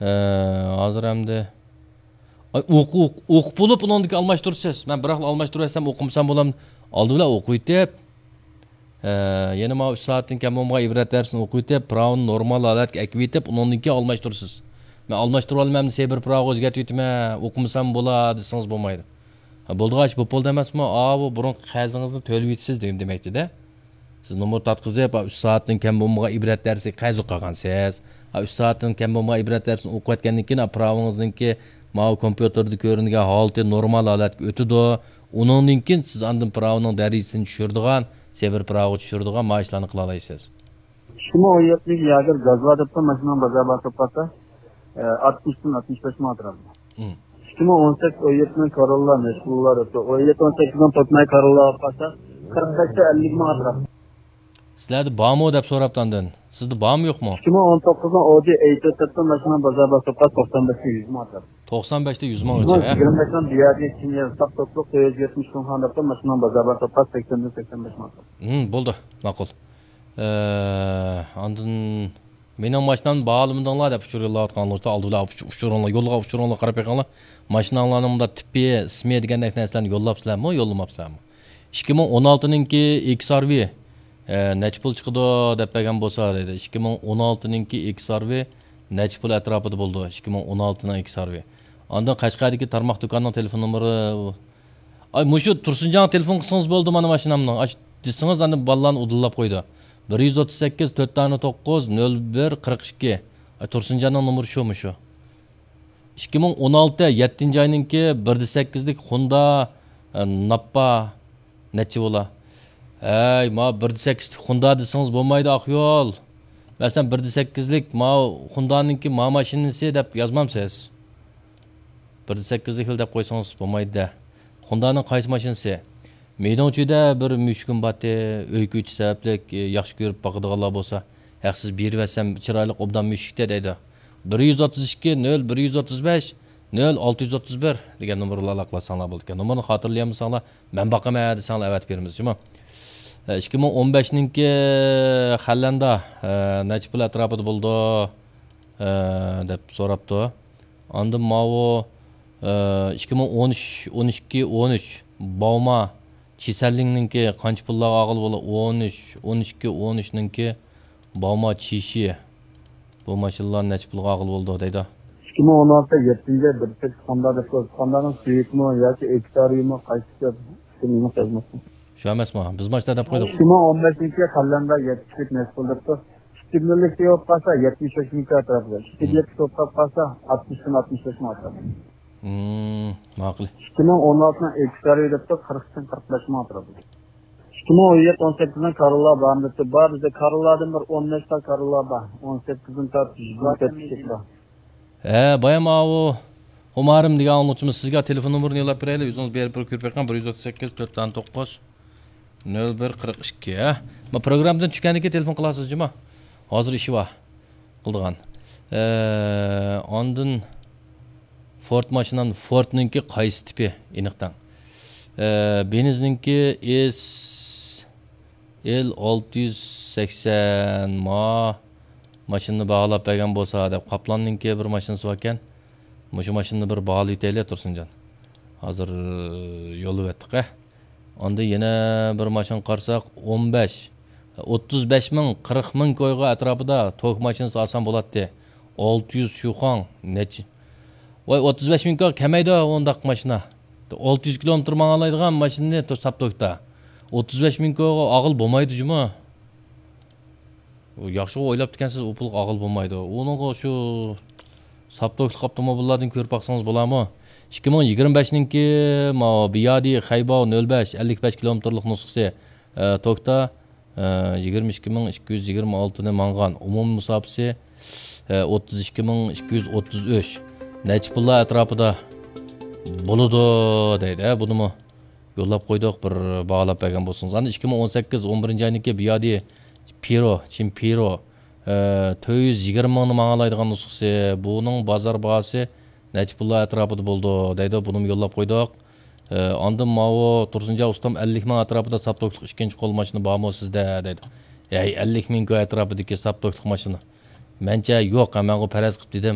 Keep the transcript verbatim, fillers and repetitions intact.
ئە، ھازىر ئەمدى، ئاي، ئوقۇ-، ئوقۇپ بولۇپ، ئۇنىڭدىن كېيىن ئالماشتۇرىسىز. مەن بىراقلا ئالماشتۇرۇۋەتسەم، ئوقۇمىسام بولام. ئالدى بىلەن ئوقۇۋېتىپ، ئە، يەنە ماۋۇ ئۈچ سائەتتىن كەم بولمىغان ئىبرەت دەرسىنى ئوقۇۋېتىپ، پىراۋىنى نورمال ھالەتكە ئەكىۋېتىپ، ئۇنىڭدىن كېيىن ئالماشتۇرىسىز. مەن ئالماشتۇرۇۋالىمەن، ئەمدى سېبىر پىراۋىغا ئۆزگەرتىۋېتىمەن، ئوقۇمىسام بولا، دېسىڭىز بولمايدۇ. ھە، بولدىغۇ، ئىش بولۇپ بولدى ئەمەسمۇ؟ ئاۋۇ بۇرۇنقى قەرزىڭىزنى تۆلىۋېتىسىز دېگەن دېمەكچىدە. سىز نومۇر تارتقۇزۇپ، ھە، ئۈچ سائەتتىن كەم بولمىغان ئىبرەت دەرسىگە قەرز قالغانسىز. ھە، ئۈچ سائەتتىن كەم بولمىغان ئىبرەت دەرسىنى ئوقۇۋەتكەندىن كېيىن، ھە، پىراۋىڭىزنىڭكى ماۋۇ كومپيۇتېردا كۆرۈنگەن ھالىتى نورمال ھالەتكە ئۆتىدۇ. ئۇنىڭدىن كېيىن سىز ئاندىن پىراۋىنىڭ دەرىجىسىنى چۈشۈرىدىغان، سېبىر پىراۋىغا چۈشۈرىدىغان ماۋۇ ئىشلارنى قىلالايسىز. ئىككى مىڭ ئون يەتتىنچى ياگېر گاز بار دەپتۇ، ماشىنىنىڭ بازار باھاسى توپلاسا، ئاتمىشتىن ئاتمىش بەش مىڭ ئەتراپىدا. مم. ئىككى مىڭ ئون سەككىز ئون يەتتىنىڭ كاروللا نەچچە بولار دەپتۇ. ئون يەتتە ئون سەككىزنىڭ توتناي كاروللا ئاپ قالسا، قىرىق بەشتە ئەللىك مىڭ ئەتراپىدا. سىلەردە بارمۇ دەپ سوراپتۇ ئاندىن. سىزدە بارمۇ يوقمۇ؟ ئىككى مىڭ ئون توققۇزنىڭ ئودى ئەيتىر دەپتۇ، ماشىنىنىڭ بازار باھاسى توپلاس توقسان بەشتە يۈز مىڭ ئەتراپىدا. توقسان بەشتە يۈز مىڭغىچە، ھە؟ يىگىرمە بەشنىڭ بىيادى كېيىن ساپ توكلۇق تۆت يۈز يەتمىش مىڭ دەپتۇ، ماشىنىنىڭ بازار باھاسى توپلاس سەكسەندىن سەكسەن بەش مىڭ ئەتراپىدا. مم، بولدى، ماقۇل. ئە، ئاندىن مېنىڭ ماشىنامنى باھالىمىدىڭلار دەپ ئۇچۇر يوللاۋاتقانلار، ئالدى بىلەن ئۇچ-، ئۇچۇرۇڭلار، يولغا ئۇچۇرۇڭلار قاراپ بېقىڭلار. ماشىناڭلارنىڭ مۇنداق تىپى، ئىسمى دېگەندەك نەرسىلەرنى يوللاپسىلەرمۇ، يوللىماپسىلەرمۇ؟ ئىككى مىڭ ئون ئالتىنىڭكى ئېكس ئار ۋى، ئە، نەچچە پۇل چىقىدۇ دەپ بەرگەن بولسا دەيدۇ. ئىككى مىڭ ئون ئالتىنىڭكى ئېكس ئار ۋى نەچچە پۇل ئەتراپىدا بولىدۇ، ئىككى مىڭ ئون ئالتىنىڭ ئېكس ئار ۋى. ئاندىن قەشقەردىكى تارماق دۇكاننىڭ تېلېفون نومۇرى، ئاي، مۇشۇ تۇرسۇنجانغا تېلېفون قىلسىڭىز بولدى، مانا ماشىنامنىڭ. ئاش دېسىڭىز، ئاندىن بالىلارنى ئۇدۇللاپ قويىدۇ. بىر يۈز ئوتتۇز سەككىز، تۆت دانە توققۇز، نۆل بىر، قىرىق ئىككى. ئاي، تۇرسۇنجاننىڭ نومۇرى شۇ، مۇشۇ. ئىككى مىڭ ئون ئالتە، يەتتىنچى ئاينىڭكى بىر دە سەككىزلىك خوندا، ئە، ناپپا نەچچە بولا؟ ھەي، ما بىر دە سەككىزلىك خوندا دېسىڭىز بولمايدۇ، ئاقيول. مەسىلەن، بىر دە سەككىزلىك ما خوندانىڭكى ما ماشىنىسى دەپ يازمامسىز؟ بىر دە سەككىزلىكلا دەپ قويسىڭىز بولمايدۇ-دە. خوندانىڭ قايسى ماشىنىسى؟ مېنىڭ ئۈچۈدە بىر مۈشۈكۈم بارتى، ئۆي كۆچۈش سەۋەبلىك، ئى، ياخشى كۆرۈپ باقىدىغانلار بولسا، ھەقسىز بېرىۋەتسەم چىرايلىق ئوبدان مۈشۈكتە دەيدۇ. بىر يۈز ئوتتۇز ئىككى، نۆل بىر يۈز ئوتتۇز بەش، نۆل ئالتە يۈز ئوتتۇز بىر دېگەن نومۇرغا ئالاقىلەشسەڭلار بولىدىكەن. نومۇرنى خاتىرىلىيەلمىسەڭلار، مەن باقىمەن دېسەڭلار ئەۋەتىپ بېرىمىز، جۇمۇ. ئە، ئىككى مىڭ ئون بەشنىڭكى خەللەندا، ئە، نەچچە پۇل ئەتراپىدا بولىدۇ، ئە، دەپ سوراپتۇ. ئاندىن ماۋۇ، ئە، ئىككى مىڭ ئون ئۈچ، ئون ئىككى، ئون ئۈچ، باۋما، چىسەنلىڭنىڭكى قانچە پۇللارغا ئالغىلى بولىدۇ؟ ئون ئۈچ، ئون ئىككى، ئون ئۈچنىڭكى باۋما چىشى. بۇ ماشىنىلارنى نەچچە پۇلغا ئالغىلى بولىدۇ دەيدۇ. ئىككى مىڭ ئون ئالتە يەتتىنچى ئاي بىر سەككىز خوندا دەپ قويدۇق. خوندانىڭ سۈيۈكمۇ ياكى ئېكتارىمۇ قايسىسى؟ شۇ مېنىڭ خىزمىتىم. شۇ ئەمەسمۇ؟ بىز ماشىنا دەپ قويدۇق. ئىككى مىڭ ئون بەشىنچى يىل قەلەمدە يەتمىش يۈك نەسىپ بولۇپتۇ. ئىككى مىللىك بولۇپ قالسا، يەتمىش بەش مىڭ ئەتراپىدا. ئىككى مىللىك بولۇپ قالسا، ئاتمىشتىن ئاتمىش بەش مىڭ ئەتراپىدا. مم، ماقۇل. ئىككى مىڭ ئون ئالتىنىڭ ئېكس ئار ۋى دەپتۇ، قىرىقتىن قىرىق بەش مىڭ ئەتراپىدا. ئىككى مىڭ ئون يەتتە ئون سەككىزنىڭ كاروللا بارمۇ دەپتۇ. بار، بىزدە كاروللادىن بىر ئون نەچچە تا كاروللا بار. ئون سەككىزدىن تارتىپ يىگىرمە تۆت كىشىلىك بار. ھە، بايام ئاۋۇ خۇمارىم دېگەن ئاڭلىغۇچىمىز سىزگە تېلېفون نومۇرىنى يوللاپ بېرەيلى، ئۆزىڭىز بېرىپ بىر كۆرۈپ بېقىڭ، بىر يۈز ئوتتۇز سەككىز، تۆت دانە توققۇز، نۆل بىر، قىرىق ئىككى، ھە؟ ما پروگراممىدىن چۈشكەندىن كېيىن تېلېفون قىلارسىز جۇمۇ. ھازىر ئىشى بار قىلىدىغان. ئە، ئاندىن فورد ماشىنام، فوردنىڭكى قايسى تىپى ئېنىق دەڭ. ئە، بېنزنىڭكى ئېس ئېل ئالتە يۈز سەكسەن ما ماشىنىنى باھالاپ بەرگەن بولسا دەپ، قاپلاننىڭكى بىر ماشىنىسى باركەن. مۇشۇ ماشىنىنى بىر باھالىۋېتەيلى، تۇرسۇنجان. ھازىر يوللىۋەتتۇق، ھە. ئاندىن يەنە بىر ماشىنا قارىساق، ئون بەش، ئوتتۇز بەش مىڭ، قىرىق مىڭ كويغا ئەتراپىدا توك ماشىنىسى ئالسام بولاتتى. ئالتە يۈز شۇخاڭ نەچچە؟ ۋاي، ئوتتۇز بەش مىڭ كويغا كەلمەيدۇ ئۇنداق ماشىنا. ئالتە يۈز كىلومېتىر ماڭالايدىغان ماشىنىنى ساپ توكتا ئوتتۇز بەش مىڭ كويغا ئالغىلى بولمايدۇ جۇمۇ. ياخشىغۇ ئويلاپتىكەنسىز، ئۇ پۇلغا ئالغىلى بولمايدۇ. ئۇنىڭغا شۇ ساپ توكلۇق ئاپتوموبىللاردىن كۆرۈپ باقسىڭىز بولامۇ؟ ئىككى مىڭ يىگىرمە بەشنىڭكى ماۋۇ بىيادى خەيباۋ نۆل بەش، ئەللىك بەش كىلومېتىرلىق نۇسخىسى، ئە، توكتا، ئە، يىگىرمە ئىككى مىڭ ئىككى يۈز يىگىرمە ئالتىنى ماڭغان. ئومۇمىي مۇساپىسى، ئە، ئوتتۇز ئىككى مىڭ ئىككى يۈز ئوتتۇز ئۈچ. نەچچە پۇللار ئەتراپىدا بولىدۇ دەيدۇ. ھە، بۇنىمۇ يوللاپ قويدۇق، بىر باھالاپ بەرگەن بولسىڭىز. ئاندىن ئىككى مىڭ ئون سەككىز ئون بىرىنچى ئاينىڭكى بىيادى پىرو، چىن پىرو، ئە، تۆت يۈز يىگىرمە مىڭنى ماڭالايدىغان نۇسخىسى. بۇنىڭ بازار باھاسى نەچچە پۇللار ئەتراپىدا بولىدۇ دەيدۇ، بۇنىمۇ يوللاپ قويدۇق. ئە، ئاندىن ماۋۇ تۇرسۇنجان ئۇستام ئەللىك مىڭ ئەتراپىدا ساپ توكلۇق ئىككىنچى قول ماشىنا بارمۇ سىزدە دەيدۇ. ھەي، ئەللىك مىڭ ئەتراپىدىكى ساپ توكلۇق ماشىنا. مەنچە يوق، ھە، مەنغۇ پەرەز قىلىپ دېدىم.